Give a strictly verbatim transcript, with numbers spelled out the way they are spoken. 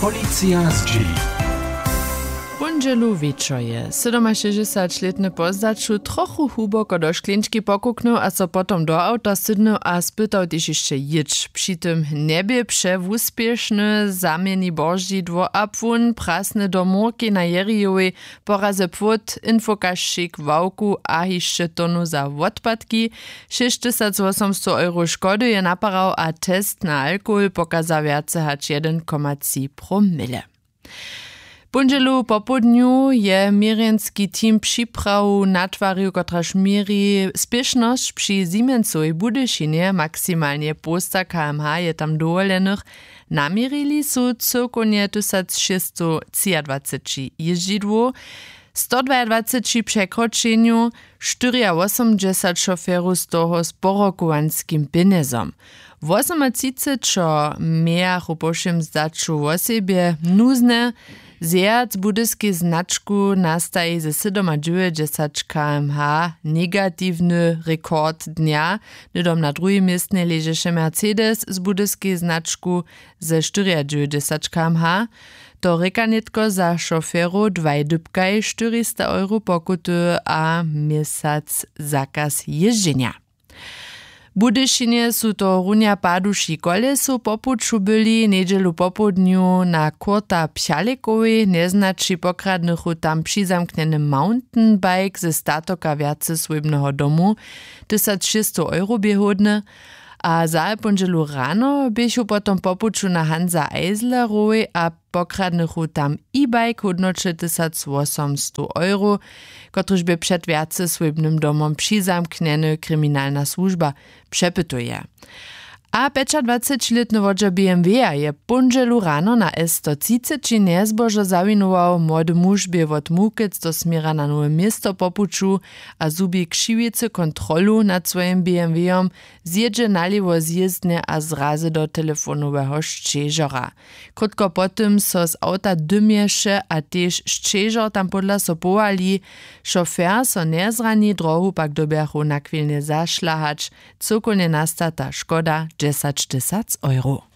Policija zdźěli. Póndźelu wječor je sydomašěsćdźesaćlětny po zdaću trochu hłuboko do škleńčki pokuknył a so potom do awta sydnył a spytał tež hišće jěć. Při tym njebě přewuspěšny, zaměni božidło a płón prasny do mórkej na jerijowej, porazy płót, infokašćik, ławku a hišće tonu za wotpadki. Šěsć tysac wosomstow euro škody je naparał a test na alkohol pokaza wjace hač jedyn koma tři promile. Póndźelu popołdnju je měrjenski team připrawu natwarił, kotraž měri spěšnosć při Siemensowej Budyšinje. Maksimalnje połsta kmh je tam dowoljenych. Naměrili su cyłkownje tysac šěsćstowtřiadwaceći jězdźidłow, stodwajadwaceći překročenjow, štyriawosomdźesat šoferow, z toho z porokowanskim pjenjezom. Wosomatřicećo mějachu po wšěm zdaću wosebje nuzne. Zjehac budyskej značku nastaji ze sydomadźewjećdźesat kmh negatiwny rekord dnja. Hnydom na druhim městnje ležeše Mercedes z budyskej značku ze štyriadźewjećdźesat kmh. To rěka nětko za šoferow dwaj dypkaj štyrista euro pokuty a měsac zakaz jězdźenja. W Budyšinje su tohorunja paduši kolesow po puću byli. Njedźelu popołdnju na kurta pchalekowej njeznaći pokradnychu tam přizamknjeny mountainbike ze statoka wjacesłójbneho domu. Tysac šěsćstow euro bě hódny. A za póndźelu rano běchu potom po puću na Hansa Eislerowej a pokradnychu tam e-bike hódnoće tysac wosomstow euro, kotryž bě před wjacesłójbnym domom přizamknjeny, kriminalna słužba přepytuje. A pjećadwacećilětny wodźer bmw-a je póndźelu rano na s sto třiceći njezbožo zawinował. Młody muž bě wot Mukec do směra na Nowe Město po puću a zhubi křiwicy kontrolu nad swojim bmw-om, zjědźe nalěwo z jězdnje a zrazy do telefonoweho šćežora. Krótko po tym so z awta dymješe a tež šćežor tam pódla so powali. Šofer so njezrani, drohu pak dyrbjachu nachwilnje zašlahać. Cyłkownje nasta ta škoda dźesaćtysac euro.